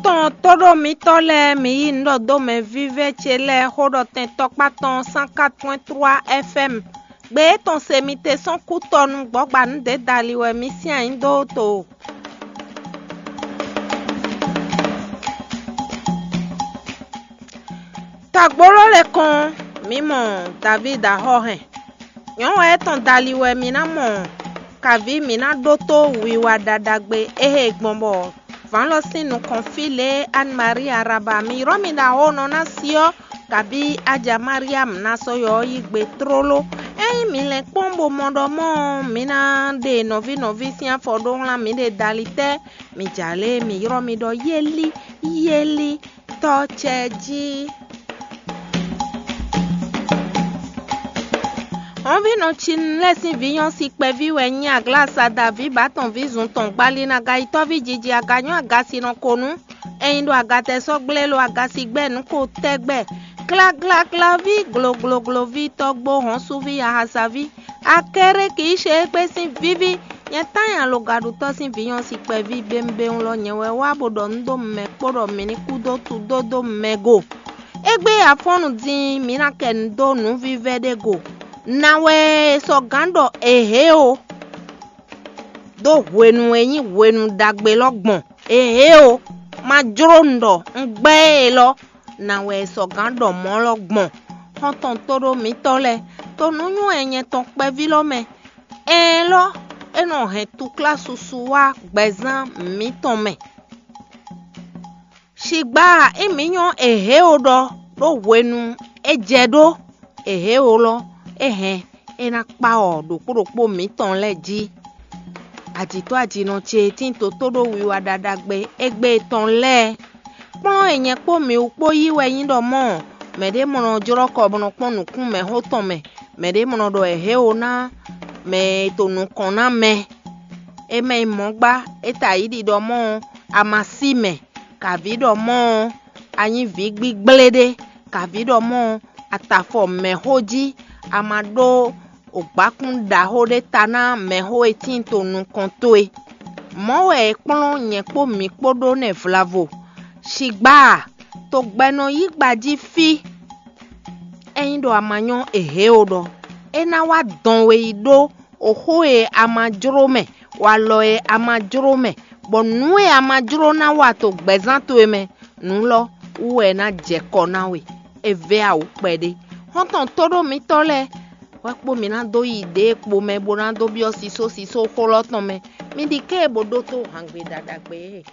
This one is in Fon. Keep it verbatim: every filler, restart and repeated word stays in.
Tɔn tóɖó mitɔ́ lɛ́ɛ, mi yí nǔ ɖɔ dó mɛ vívɛ́ ce lɛ́ɛ xó ɖɔ tɛn tɔkpá tɔn cent quatre point trois F M. Gbe étɔn se mi te sɔ́n kú tɔnu gbɔ̌gbanu ɖě dali wɛ mi sín ayǐ dó to. Tɔgbóló lɛ́ɛ kɔn, mǐ mɔ Davídi axɔ́ hɛn. Nyɔ̌nu étɔn dali wɛ mǐ ná mɔ kaví mǐ ná ɖótó wiwa ɖaɖagbe é he gbɔn bɔ vǎn lɔ sín nukɔn fí lě e Anne Marie Araba mǐ ylɔ́ mì ɖo axɔ́ nɔ ná syɔ́, kabí Aja Mariam ná sɔ́ yɔ ɔ́ yí gbe tlóló. Ényí mǐ lɛ́n kpɔ́n bó mɔ ɖɔ mɔ̌ ɔ́, mǐ ná ɖe nɔví nɔví sín afɔ ɖó wlán mǐɖée dali tɛ́. Mǐ ja lě e mǐ ylɔ́ mi ɖɔ Yeli, Yeli, Tɔ́ ce jí. Hɔnvínɔ Cinu lɛ́ɛ sín vǐ nyɔ́ si kpɛví wɛ nyí Aglasa Daví bǎ tɔn ví zun tɔn gbalinaga yi tɔ́ví jiji aga nyɔ́ aga si nɔ ko nú. Ényí ɖo agatɛ sɔ́ gblé lo aga si gbɛ́ nǔ ko tɛ́gbɛ. Glaglaglɔví, glogloglóví, tɔ́gbó hɔ́nsúví, ahasaví, akɛ́ɖé kǐ ṣe égbé sín víví. Nyɛ tán nyi alogaɖutɔ́ sín vǐ nyɔ́ si kpɛví bémbéwún lɔ nyɛ wɛ wá bó ɖɔ nǔ dó mɛ kpó ɖɔ mǐ ní kú dó tudó dó mɛ go. Égbé afɔ́nnu din mǐ ná kɛ nǔ dó nǔvívɛ́ ɖé go. Nǎ wɛ è sɔ́ gǎn ɖɔ è hě o, ɖó hwenu e nyí hwenu ɖagbe lɔ gbɔn. È hě o, ma jló un ɖɔ un gbɛ́ élɔ́. Nǎ wɛ è sɔ́ gǎn ɖɔ mɔ̌ lɔ gbɔn. Xɔ́ntɔn tóɖó mǐtɔn lɛ́ɛ, to nǔ nywɛ́ nyɛ tɔn kpɛví lɔ mɛ. Ɛɛn lɔ, é nɔ hɛn tuklásusu wá gbɛzán mǐtɔn mɛ. Shigba ényí mǐ nyɔ́ è hě o ɖɔ ɖó hwenu é jɛ ɖó, è hě o lɔ, é hɛn é ná kpá ɔ ɖokpó ɖokpó mǐtɔn lɛ́ɛ jí. Ajǐtɔ́ ajinɔ ce e tín toto ɖó wiwa ɖaɖagbe égbé tɔn lɛ́ɛ. Kplɔ́n e nyɛ kpó mǐ wú kpó yí wɛ nyí ɖɔ mɔ̌, mɛɖé mɔ nɔ jlɔ́ kɔ bó nɔ kpɔ́n nǔkún mɛxó tɔn mɛ, mɛɖé mɔ nɔ ɖɔ è hě o ná mɛ e to nukɔn ná mɛ. É mɛ nyí mɔ̌ gbá, é ta yǐ ɖiɖɔ mɔ̌ ɔ́, a ma sí mɛ, kavǐ ɖɔ mɔ̌ ɔ́, a nyí vǐ gbígblé ɖé, kavǐ ɖɔ mɔ̌ ɔ́, a ta afɔ mɛxó jí, a ma ɖó ògbákún ɖaxó ɖé ta ná mɛxó e tíin to nukɔn towe. Mɔ̌ wɛ è kplɔ́n nyɛ kpó mǐ kpó ɖó nɛ́ vlavo. Shigba a, togbɛnɔ yí gba jí fí. Ényí ɖɔ a ma nyɔ́ è hě o ɖɔ, é ná wá dɔn we yi ɖó oxó e a ma jló mɛ, walɔ e a ma jló mɛ, bɔ nǔ e a ma jló ná wa to gbɛ̌zán towe mɛ, nǔ lɔ wú wɛ é ná jɛ kɔ ná we. É vɛ́ awu kpɛɖé. Xɔ́ntɔn tóɖó mitɔ́ lɛ́ɛ wɛ kpó mi ná dó yi ɖěe kpo mɛ bó ná dó byɔ́ sisósisó xó lɔ tɔn mɛ. Mi ɖi ké bo ɖótó hǎngbe ɖaɖagbe e.